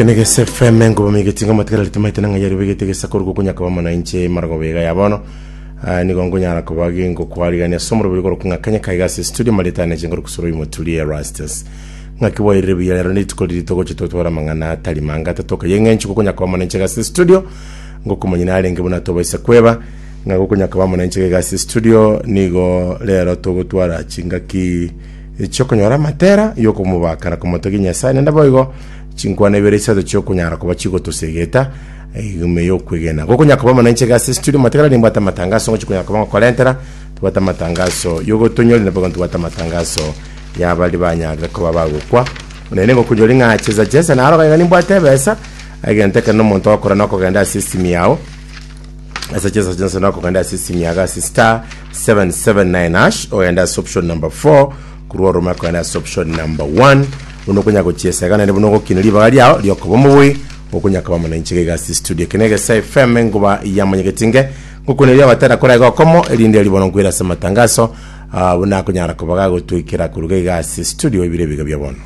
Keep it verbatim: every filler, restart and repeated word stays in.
Kenegese F M ngoba migetinga matigara ritimaite nang'a yari begete gesakuru gokunya kaba mwananchi marago bega ya bono. Ah, nigo ngonyara koba gingokwarigania ase omorobori goro kung'akanya kaiga ase studio maritane chingoro kusoro imoturi Erastus ng'aki bwairire buya. Rero nituko riri togocha totwara amang'ana atari manga atatoka yeng'encho gokonya koba mwananchi ase studio ngokomanya narenge buna tobaisa kweba ng'a gokonya koba mwananchi iga ase studio. Nigo rero togotwara chingaki chiokonyora amatera yokomobaka na komotogia Nyasaye, nende boigo chinkwana ibere isato chiokonyara koba chigotosegeta ime yokwegena gokonya koba mwananchi iga ase studio. Matigara nimbwate amatangaso ngochi koba ngokorentera, tubwate amatangaso yogotonyori na boigo ntubwate amatangaso yabari banyarire koba bagokwa nene ngokunyori ng'a cheza cheza naro gaiga nimbwate ebesa egento ekero nomonto ogokora nokogenda ase esimi yao ase cheza cheza nokogenda ase esimi yago ase star seven seven nine hash, ogenda ase option number four, korwa orome okogenda ase option number one, buna okonya gochiesa iga naende buna ogokina ribaga riao riokoba omobui okonya koba mwananchi iga ase studio. Eke negesa F M enguba ya monyegetinge ngokuneria abatera kora iga okomo erinde ribono nkwira ase amatangaso, ah, buna akonyara koba gagotwikera koruga iga ase studio ebire ebiga bia bono.